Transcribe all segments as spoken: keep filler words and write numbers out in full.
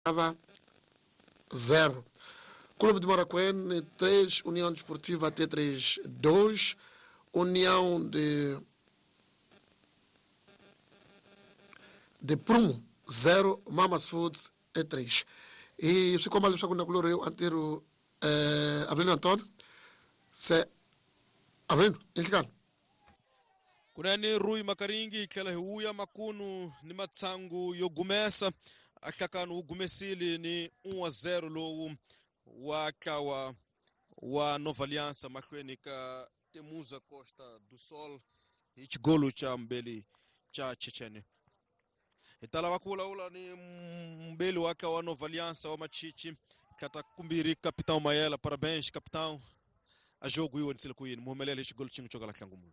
Va zero. Clube de Maracuene três, União Desportiva T três dois, União de de Prumo zero, Mamas Foods e três. E swi komba leswaku nakulorhi antero eh Avelino Antonio se Avelino inhlikani kunene Rui Makaringi hi tlhela hi vuya makunu ni matsangu yo gumesa a hlakano wu gumesile ni un a zero lowu wa ntlawa wa Nova Aliança mahlweni ka Temuza Costa do Sol hi xigolo xa mbeli xa Chechene. Hi ta lava ku vulavula ni mbeli wa ntlawa wa Nova Aliança wa Machichi tlata kumbirhi Capitão Mayela. Parabéns capitão, a jogo yi wonisile ku yini muhumelele hi xigolo xin'we xo kala hlangumulo?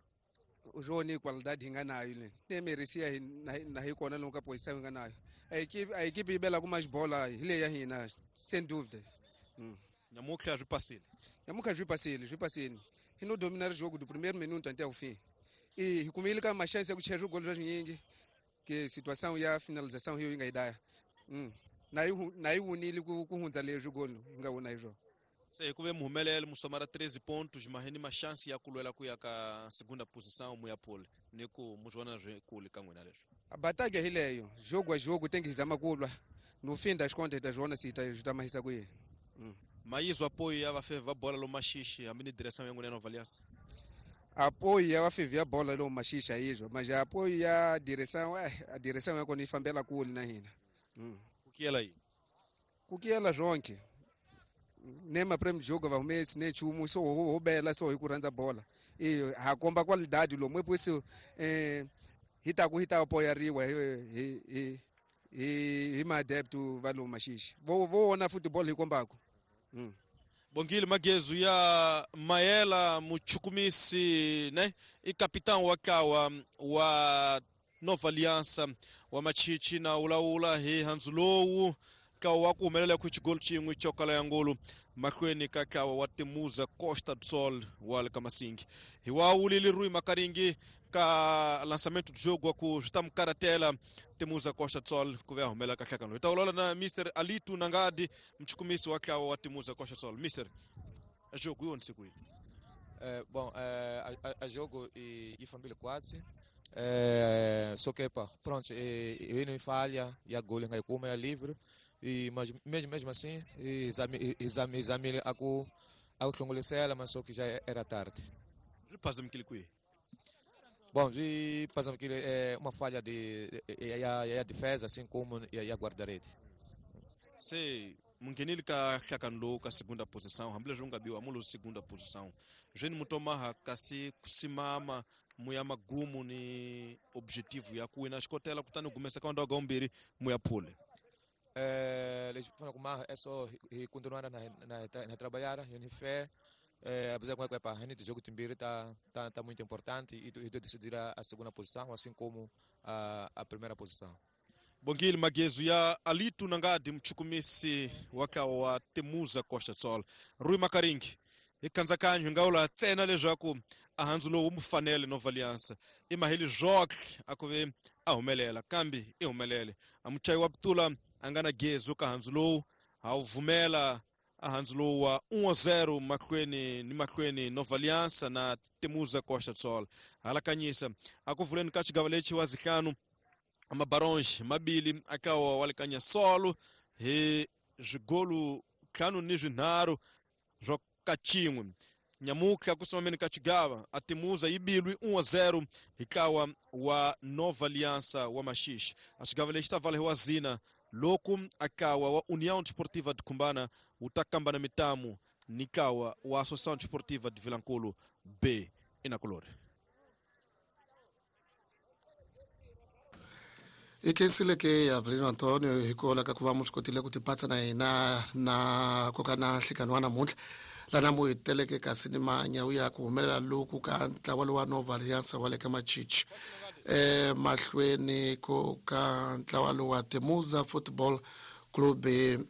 O jogo ni qualidade hi nga nayo le ne merecia hi na hi kona lomu ka posição hi nga nayo. A equipe a equipe yi bela ku mais bola hi leyi ya hina sem dúvida. Hum. Nyamutlha swi pasile. Nyamutlha swi pasile, swi pasile. Hi no dominar jogo do primeiro minuto até o fim. E hi kumile ka ma chance ya ku chaya gol swa que situação ya finalização hiyo yi nga yi daya. Hum. Na yi na yi wunile ku ku hundza leswi gol hi nga wona hi swona. Se ku ve muhumelele musomara treze pontos mas ni ma chance ya ku lwela ku ya ka segunda posição mu ya pole ni ku mu vona swi kule ka n'wina leswi. A batalha hi leyo, jogo a jogo tem que zama ku lwa. No fim das contas ta zvona se ta ta mahisa ku yini. Mm. Mayizo apoio ya vafevi va bola lo Maxixe hambi ni direção ya n'wina ya Nova Aliança. Apoio ya vafevi ya bola lo Maxixe ayizvo, mas apoio ya direção, eh, a direção ya kona yi fambela kule na hina. Mm. Ku kiyela yini? Ku kiyela zvonke. Ne maprêmio de jogo va humesi ne nchumu so ho bela so hi ku rhandza bola. E ha komba qualidade lomu epusi eh hi ta ku hi ta apoyariwa hi hi hi hi hi maadepto va lomu Maxixe. Vo vo vona football hi kombaka. Mm. Bongile Magezu ya Mayela muchukumisi ne i capitão wa ntlawa wa Nova Aliança wa Machichi na ulawula hi handzu lowu ntlawa wa ku humelela ku xigolo xin'we xo kala ya ngolo mahlweni ka ntlawa wa Temuza Costa do Sol wa le ka Masingi. Hi wa wulile Rui Makaringi ka lançamento do jogo ku swi ta mu karatela Temuza Costa do Sol ku ve a humelela ka hlakano. Hi ta vulavula na Mister Alitu Nangadi muchukumisi wa ntlawa wa Temuza Costa do Sol. Mister, a jogo yi onise ku yini? Eh, bom, eh, a, a, a jogo e, e família quase. Eh, só que pá, pronto, e, e não falha, e a gol em como é livre. E mas mesmo mesmo assim, exame exame exame a ku a hlongolisela, mas só que já era tarde. Passamos aquele que Bom, e passamos aquele é uma falha de e a, a defesa assim como e a guarda-rede. Se mungenile ka hlakano lowu ka segunda posição, hambileswi u nga biwa mu lo segunda posição. Zveni mutomaha kasi kusimama mu ya magumu ni objetivo ya ku wina xikotela kutani gumesa ka ndhawu mbirhi mu ya phule. Eh, les fana kuma é só e continuar na na na trabalhar, e fé. Eh, apesar que a gente jogo timbiri tá tá tá muito importante e e decidir a, a segunda posição assim como a a primeira posição. Bongile Magezu ya Alitu Nangadi mchukumisi waka wa Temuza Costa do Sol. Rui Makaringi hi kandzakanyo hi nga wula ntsena leswaku a handzu lowu mu fanele Nova Aliança i maheli zwoke a ku ve a humelela kambe i humelele a muchayi wa putula a nga na gezu ka handzu lowu ha wu vumela a handzu lowu wa un a zero mahlweni ni mahlweni Nova Aliança na Temuza Costa do Sol. Halakanyisa a ku vuleni ka xigava lexi wa zihlanu amabaronge mabili akawa walekanya solo hi swigolu ntlhanu ni swinharhu swa ka xin'we. Nyamutlha ku simameni ka xigava a Temuza yi bilwi un a zero hi ntlawa wa Nova Aliança wa Maxixe. A xigava lexi ta vala hi wa zina loku akawa wa União Desportiva de Cumbana wu ta kamba na mitamu ni ntlawa wa Associação Desportiva de Vilankulu B inakulori. I khensile ke Avelino Antonio hi ku ka ku va mu swi kotile ku tipatsa na hina na koka na nhlikani wa namuntlha lana mu hi teleke kasi ni manyawu ya ku humelela loku ka ntlawa lowa Nova Aliança wa le ka Machichi eh mahlweni ko ka ntlawa lowa Temuza Football Club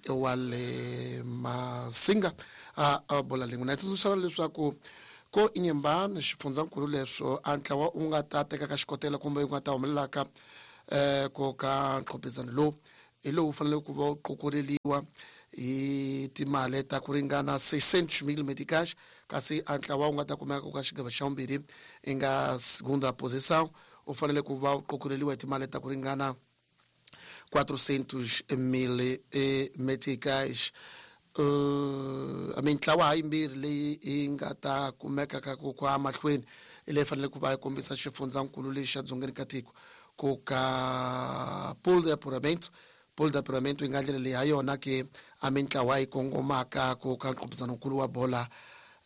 wa le Masinga a a bola lin'we na tsundzuxa leswaku ko Inhambane xifundzankulu leswo a ntlawa u nga ta teka ka xikotela kumbe u nga ta humelelaka eh ko ka nqhopizano lowu hi lowu fanele ku va wu qokoleliwa hi timali ta ku ringana seiscentos mil meticais, kasi a ntlawa wu nga ta kumeka ku ka xigava xa vumbirhi i nga segunda posição u fanele ku va wu qokoleliwa hi timali ta ku ringana quatrocentos mil meticais. Uh, mintlawa hayimbirhi leyi yi nga ta kumeka ka ku kwa mahlweni i leyi fanele ku va yi kombisa xifundzankulu lexi xa dzongeni ka tiko ku ka pool de apuramento. Pool de apuramento yi nga ndlela leyi ha yona ke a mintlawa yi kongomaka ku ka nqophisanokulu wa bola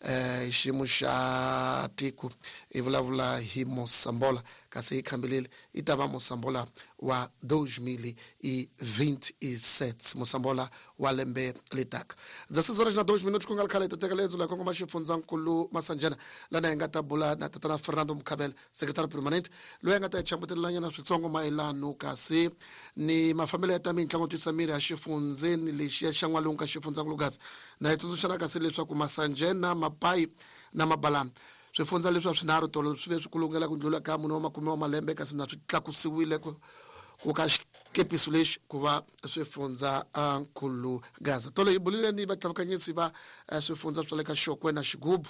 eh xiyimo xa tiko i vulavula hi Mosambola, kasi yi khambelele yi ta va Mosambola wa dois mil e vinte e sete, Mosambola wa lembe letaka. dezesseis horas na dois minutos ku nga ri khale hi ta teka lendzo la kongoma xifundzankulu Masanjana lana hi nga ta bula na tatana Fernando Mukhabela, secretary permanent, loyi a nga ta hi chambutelelanyana switsongo mayelano kasi ni mafambelo ya ta mitlangu twisa miri ya xifundzeni lexiya xa n'walungu ka xifundzankulu Gaza. Na hi tsundzuxana kasi leswaku Masanjena, Mapai na Mabalana swifundza leswi a swinharhu tolo swi ve swi kulungela ku ndlula ka mune wa makume wa malembe, kasi na swi tlakusiwile ku ku ka xikepiso lexi ku va swifundza nkulu Gaza. Tolo hi bulile ni vatlavakanyisi va swifundza swa le ka Xokwe na Xigubu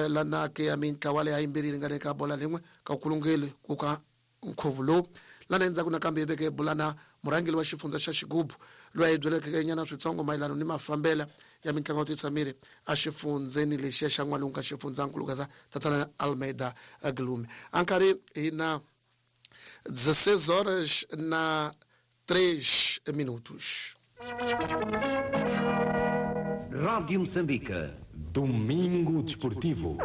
lana ke ya mintlawa leyi yimbirhi yi ringane ka bola lin'we ka kulungeli ku ka nkhuvo lowu. Lana endzhaku nakambe hi veke hi bula na murhangeri wa xifundza xa Xigubu loyi a hi byeleke nyana switsongo mayelana ni mafambelo ya mitlangu yo tisa miri a xifundzeni lexiya xa n'walungu ka xifundzankulu Gaza, tatana Almeida Glume. A nkarhi hi na dezesseis horas na três minutos. Rádio Moçambique, Domingo Desportivo.